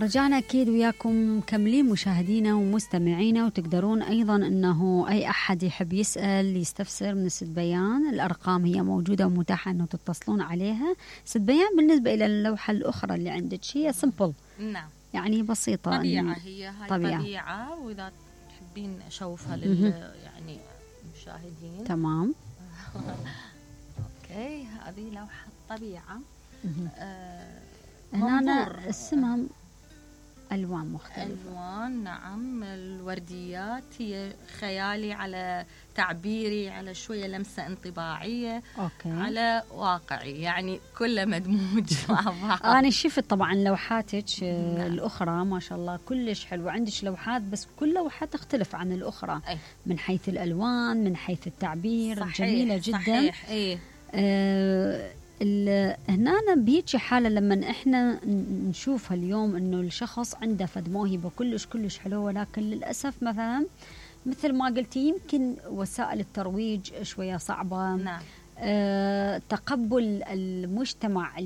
رجعنا أكيد وياكم مكملين مشاهدينا ومستمعينا، وتقدرون أيضا أنه أي أحد يحب يسأل يستفسر من ست بيان. الأرقام هي موجودة ومتاحة أنه تتصلون عليها. ست بيان بالنسبة إلى اللوحة الأخرى اللي عندك هي سمبل، نعم، يعني بسيطة، طبيعة، هي هاي طبيعة، وإذا تحبين أشوفها يعني المشاهدين. تمام. أوكي، هذه لوحة طبيعة. هنا اسمها ألوان مختلفة. ألوان، نعم. الورديات هي خيالي على تعبيري، على شوية لمسة انطباعية. أوكي. على واقعي، يعني كله مدموج مع بعض. أنا شفت طبعا لوحاتك الأخرى ما شاء الله كلش حلوة. عندك لوحات بس كل لوحة تختلف عن الأخرى من حيث الألوان، من حيث التعبير. صحيح. جميلة جدا. صحيح. هنا بيجي حالة لما احنا نشوفها اليوم انه الشخص عنده فد موهبة كلش حلوة، ولكن للأسف مثلا مثل ما قلتي يمكن وسائل الترويج شوية صعبة. نعم. تقبل المجتمع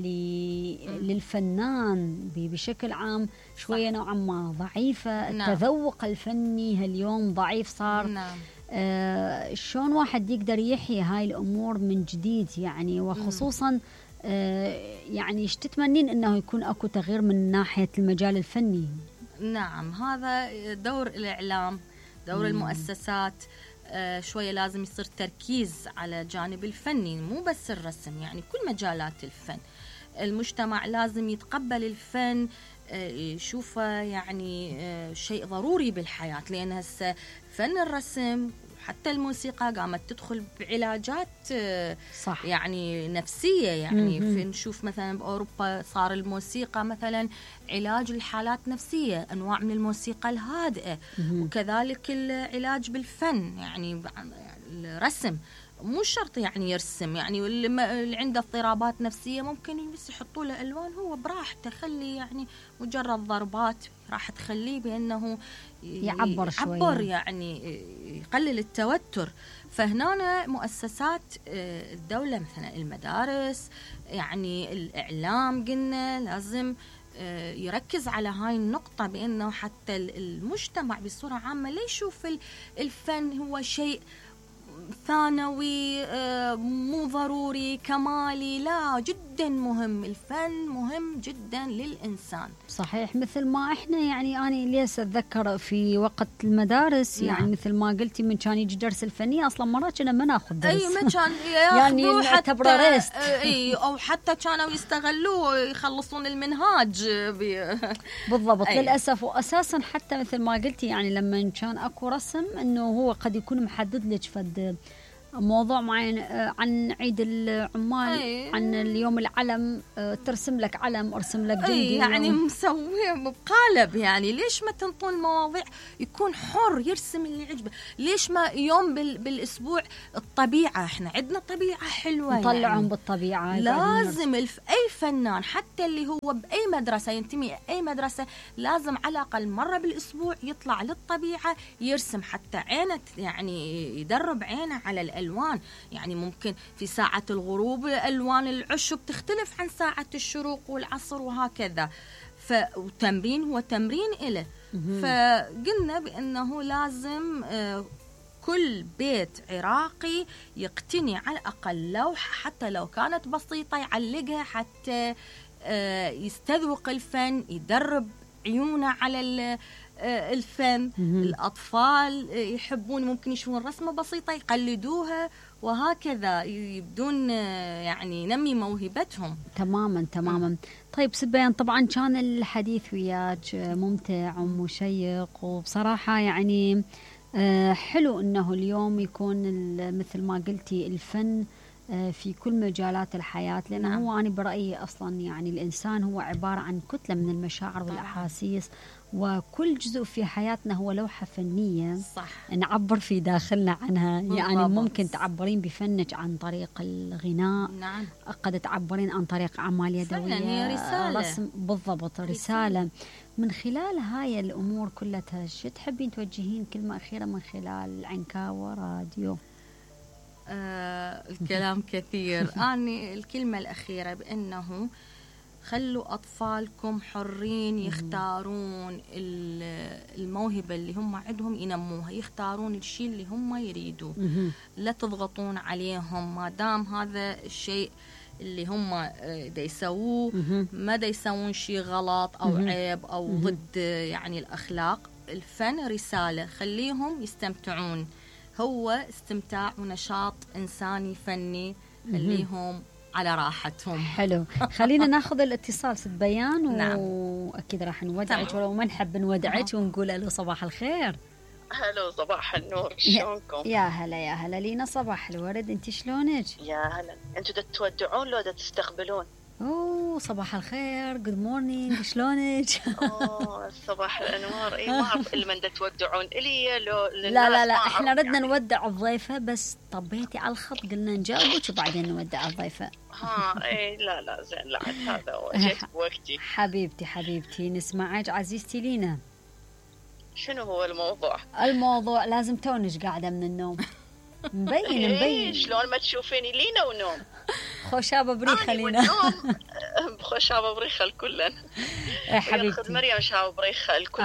للفنان بشكل عام شوية نوعا ما ضعيفة. نعم. التذوق الفني هاليوم ضعيف صار. نعم. شلون واحد يقدر يحيي هاي الأمور من جديد يعني، وخصوصا يعني ايش تتمنين انه يكون اكو تغيير من ناحية المجال الفني؟ نعم، هذا دور الإعلام، دور المؤسسات. شوية لازم يصير تركيز على جانب الفني، مو بس الرسم، يعني كل مجالات الفن. المجتمع لازم يتقبل الفن، يشوفه يعني شيء ضروري بالحياة، لأن هسه فن الرسم حتى الموسيقى قامت تدخل بعلاجات صح. يعني نفسية. يعني نشوف مثلا بأوروبا صار الموسيقى مثلا علاج للحالات نفسية، أنواع من الموسيقى الهادئة. وكذلك العلاج بالفن، يعني الرسم مو شرط يعني يرسم، يعني اللي عنده اضطرابات نفسية ممكن بس يحطوا له ألوان هو براحته، خلي يعني مجرد ضربات راح تخليه بأنه يعبر شوية، يعني يقلل التوتر. فهنا مؤسسات الدولة مثلا المدارس، يعني الإعلام قلنا لازم يركز على هاي النقطة، بأنه حتى المجتمع بصورة عامة لا يشوف الفن هو شيء ثانوي مو ضروري كمالي. لا، جدا مهم، الفن مهم جدا للإنسان. صحيح. مثل ما احنا يعني أنا ليس أتذكر في وقت المدارس. نعم. يعني مثل ما قلتي من كان يجي درس الفنية أصلا مرات كنا ما ناخذ درس. ما كان يعني نعتبره ريست. أو حتى كانوا يستغلوه يخلصون المنهاج بالضبط. للأسف. وأساسا حتى مثل ما قلتي يعني لما كان أكو رسم إنه هو قد يكون محدد لك فد موضوع معين عن عيد العمال، عن اليوم العلم، ترسم لك علم، ارسم لك جندي. يعني مسويه بقالب. يعني ليش ما تنطون المواضيع يكون حر يرسم اللي يعجبه؟ ليش ما يوم بالاسبوع الطبيعه؟ احنا عندنا طبيعه حلوه، نطلعهم يعني بالطبيعه. لازم اي فنان حتى اللي هو باي مدرسه ينتمي اي مدرسه لازم على الاقل مره بالاسبوع يطلع للطبيعه يرسم، حتى عينه يعني يدرب عينه على الألوان. يعني ممكن في ساعة الغروب ألوان العشب تختلف عن ساعة الشروق والعصر وهكذا. وتمرين هو تمرين إله. فقلنا بأنه لازم كل بيت عراقي يقتني على الأقل لوحة حتى لو كانت بسيطة يعلقها حتى يستذوق الفن، يدرب عيونه على الفن. الأطفال يحبون ممكن يشوفون رسمة بسيطة يقلدوها وهكذا يبدون يعني نمي موهبتهم. تماما. طيب ست بيان، طبعا كان الحديث وياك ممتع ومشيق، وبصراحة يعني حلو انه اليوم يكون مثل ما قلتي الفن في كل مجالات الحياة، لأنه هو أنا برأيي أصلا يعني الإنسان هو عبارة عن كتلة من المشاعر والأحاسيس، وكل جزء في حياتنا هو لوحة فنية. صح. نعبر في داخلنا عنها. يعني بالضبط. ممكن تعبرين بفنك عن طريق الغناء. نعم. قد تعبرين عن طريق أعمال يدوية. هي رسالة. رسم. بالضبط، رسالة. من خلال هاي الأمور كلها شو تحبين توجهين كلمة أخيرة من خلال عنكاوة راديو؟ الكلام كثير. أنا الكلمة الأخيرة بأنه خلوا أطفالكم حرين يختارون الموهبة اللي هم عندهم ينموها، يختارون الشيء اللي هم يريدوه. لا تضغطون عليهم ما دام هذا الشيء اللي هم دا يسووه ما دا يسوون شيء غلط أو عيب أو ضد يعني الأخلاق. الفن رسالة، خليهم يستمتعون، هو استمتاع ونشاط إنساني فني، خليهم على راحتهم. حلو. خلينا ناخذ الاتصال ست بيان نعم. واكيد راح نودعك ولو ما نحب نودعك ونقول له صباح الخير. هلو صباح النور، شلونكم؟ يا هلا يا هلا لينا، صباح الورد، انت شلونك؟ يا هلا. انتوا دا تودعون لو دا تستقبلون؟ اوه صباح الخير، جود مورنينج، شلونك؟ اوه صباح الانوار. اي ما اعرف الا من دا تودعون الي لو لا احنا ردنا يعني نودع الضيفه بس طبيتي على الخط قلنا نجاوبك وبعدين نودع الضيفه. اي لا زين، لا هذا جيت بوقتي. حبيبتي نسمعك عزيزتي لينا. شنو هو الموضوع؟ الموضوع لازم تونج قاعده من النوم. مبين شلون ما تشوفيني لينا ونوم. خوشابه بريخه لينا. خوشابه بريخه الكلن. حبيبتي خذ مريم شابه بريخه الكل،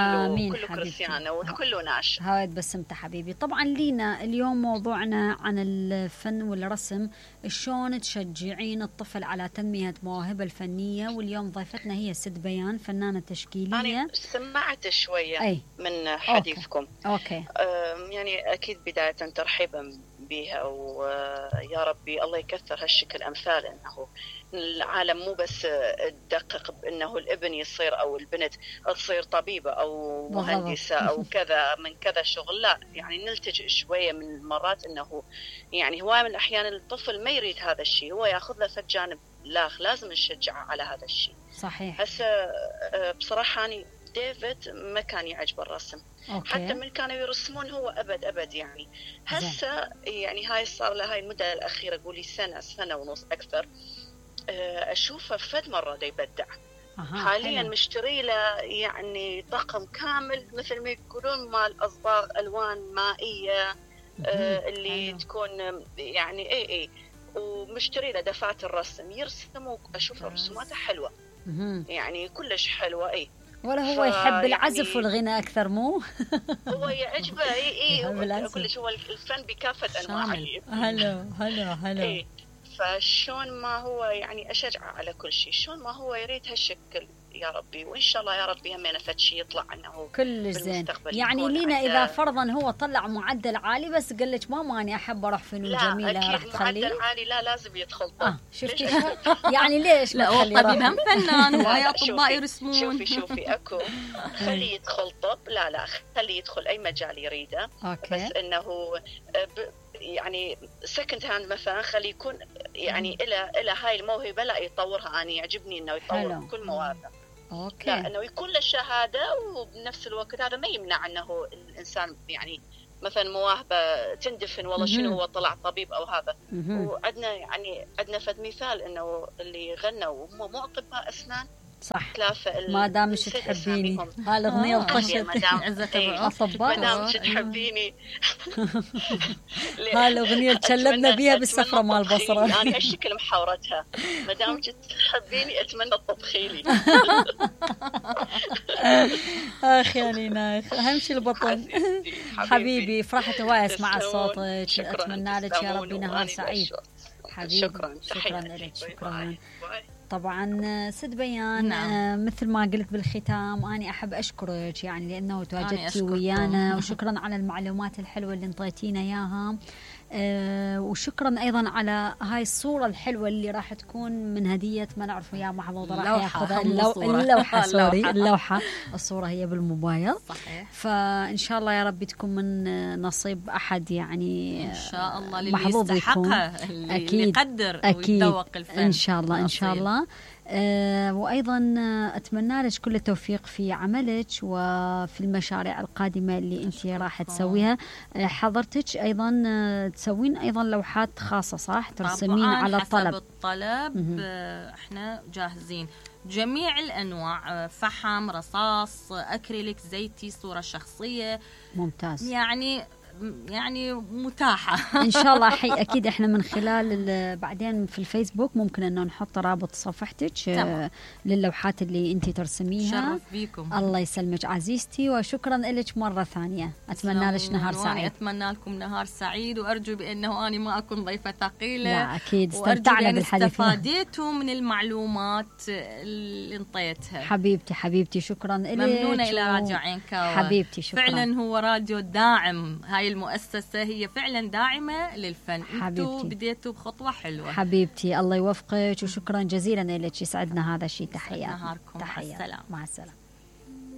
كله كريستيانه والكل ناش. هاي بسمته حبيبي. طبعا لينا اليوم موضوعنا عن الفن والرسم، شلون تشجعين الطفل على تنميه مواهبه الفنيه، واليوم ضيفتنا هي ست بيان، فنانه تشكيليه. أنا سمعت شويه من حديثكم. أوكي. يعني اكيد بدايه ترحيبا بها، ويا ربي الله يكثر هالشكل أمثال، أنه العالم مو بس تدقق بأنه الابن يصير أو البنت تصير طبيبة أو مهندسة أو كذا من كذا شغل، لا يعني نلتجئ شوية من المرات أنه يعني هواية من الأحيان الطفل ما يريد هذا الشيء، هو يأخذ له في جانب لازم نشجعه على هذا الشيء. صحيح. هسه بصراحة أنا ديفيد ما كان يعجب الرسم. أوكي. حتى من كانوا يرسمون هو أبد يعني. هسه يعني هاي صار له هاي المدة الأخيرة قولي سنة ونص أكثر، أشوفه فد مرة دا يبدع. حاليا مشتري له يعني طقم كامل مثل ما يقولون مال أصباغ ألوان مائية اللي تكون يعني اي ومشتري له دفعات الرسم يرسم، وأشوف رسوماته حلوة يعني كلش حلوة. اي ولا هو يحب العزف يعني والغناء أكثر مو؟ هو يعجبه كلش، هو الفن بكافة أنواعه. هلا فشون ما هو يعني أشجعه على كل شيء، شون ما هو يريد هالشكل يا ربي، وإن شاء الله يا ربي همينة فد شيء يطلع عنه كل زين. يعني لينا إذا فرضا هو طلع معدل عالي بس قال لك ماما أنا أحب أروح فنون جميلة، راح تخليه؟ معدل عالي لا لازم يدخل طب. شفتي يعني ليش لا هو طبيب هم فنان وهي أطباء يرسمون. شوفي أكو خليه يدخل طب، لا خليه يدخل أي مجال يريده. أوكي. بس إنه يعني سكند هاند مثلا خليه يكون يعني إلى هاي الموهبة لا يطورها. أنا يعجبني إنه يطور كل مواهبه. أوكي. لا إنه يكون له شهادة، وبنفس الوقت هذا ما يمنع إنه الإنسان يعني مثلا مواهبة تندفن والله شنو هو طلع طبيب أو هذا. وعندنا يعني عندنا فد مثال إنه اللي غنوا هم مو أطباء أسنان. صح. ما دام مش تحبيني هالأغنية الطشت أطباء. ما دام مش تحبيني هالأغنية تشلبنا بيها بالسفرة مال البصرة. أنا هالشكل محاورتها، ما دام تحبيني أتمنى تطبخي لي. أخ يا لينا، أهم شيء البطن. حبيبي فرحت هواي أسمع صوتك، أتمنى لك يا ربي نهار سعيد. حبيبي شكرا لك. شكرا. طبعا ست بيان. نعم. مثل ما قلت بالختام أنا أحب أشكرك يعني لأنه تواجدتي ويانا، وشكرا على المعلومات الحلوة اللي انطيتينا إياها، وشكرا أيضا على هاي الصورة الحلوة اللي راح تكون من هدية ما نعرف يا محظوظ راح ياخذها اللوحة. الصورة هي بالموبايل. صحيح. فإن شاء الله يا رب تكون من نصيب أحد يعني إن شاء الله اللي محظوظ يكون. اللي يقدر ويتذوق الفن إن شاء الله إن شاء الله. وأيضا أتمنى لك كل التوفيق في عملك وفي المشاريع القادمة اللي أنت راح تسويها. حضرتك أيضا تسوين أيضا لوحات خاصة صح؟ ترسمين على الطلب. احنا جاهزين جميع الأنواع، فحم، رصاص، أكريليك، زيتي، صورة شخصية. ممتاز. يعني يعني متاحة. ان شاء الله. اكيد احنا من خلال بعدين في الفيسبوك ممكن انه نحط رابط صفحتك للوحات اللي انت ترسميها. شرف بيكم. الله يسلمك عزيزتي، وشكرا لك مرة ثانية. اتمنى لك نهار سعيد. اتمنى لكم نهار سعيد، وارجو بانه اني ما اكون ضيفة ثقيلة. لا اكيد استمتعنا بالحديث، استفاديتوا من المعلومات اللي انطيتها. حبيبتي شكرا لك. ممنونة الى راديو عين كاوة. حبيبتي شكرا. فعلا هو راديو داعم، هاي المؤسسة هي فعلا داعمة للفن. انتوا بديتوا بخطوة حلوة. حبيبتي الله يوفقك، وشكرا جزيلا لك، يسعدنا هذا الشيء. تحية. نهاركم. تحية. مع السلامة. مع السلامة.